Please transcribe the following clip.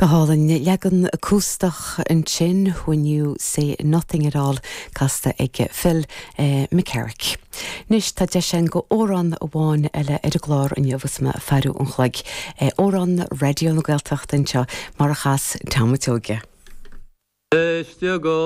Go hálainn. Leagan acústach ansin, When You Say Nothing At All, casta ag Phil McCarrick. Anois tá deis againn go amhrán amháin eile ar an gclár inniu agus mé ag faire an chloig. Amhrán Raidió na Gaeltachta anseo mar a chas Tom a' tSeoighe. Éist go.